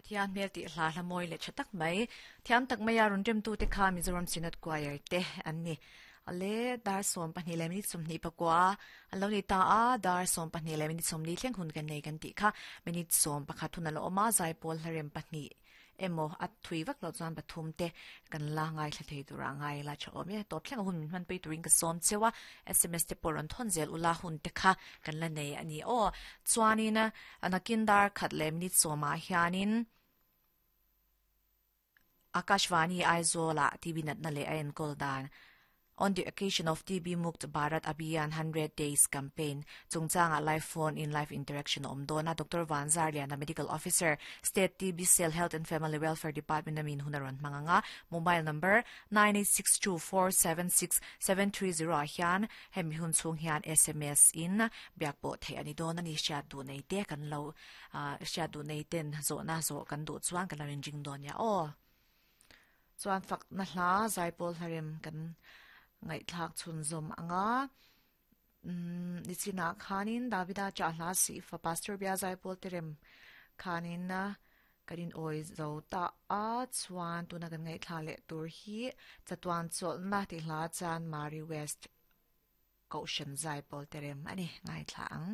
Pathian hmel tih hla hla mawi leh tha tak mai. Thiam tak maia rawn remtute kha Mizoram Synod Choir te an ni. Ale dar 12 leh minute 24 an lo ni ta a, dar 12 leh minute 40 thleng hun kan nei kan tih kha minute 11 hun a lo awm a, zaipawl hlarem pahnih emaw a thui vak loh chuan pathum te kan la ngaithla thei tur ah ngai la tha awm e. Tawp thleng a hun min hmanpui turin ka sawm cheu a, sms te pawh rawn thawn zel ula hun te kha kan la nei a ni aw. Chuanin nakin dar khat leh minute sawmah hianin Akashvani Aizawl ah TB natna leh a enkawl dan On the occasion of TB Mukt Bharat Abhiyan 100 Days Campaign chungchangah live phone in live interaction a awm dawn a, Doctor Van Zarliana, Medical Officer, State TB Cell Health and Family Welfare Department a min hun a rawn hmang ang a, mobile number 9862476730 ah hian hemi hun chhung hian sms in biak pawh theih a ni dawn a ni. Hriat duh nei te kan lo hriat duh nei ten zawhna zawh kan duh chuan kan lo inring dawn nia aw. Chuan fakna hla zaipawl hlarem kan ngaihthlak chhunzawm ang a. Umm nichinah khanin Davida chah hla sih fa Pastor Bia zaipawl te rem khanin kan in awi zo ta a. Chuan tuna kan ngaihthla leh tur hi chatuan chawlhna tih hla chuan Mari West Kohhran zaipawl te rem a ni ngaithla ang.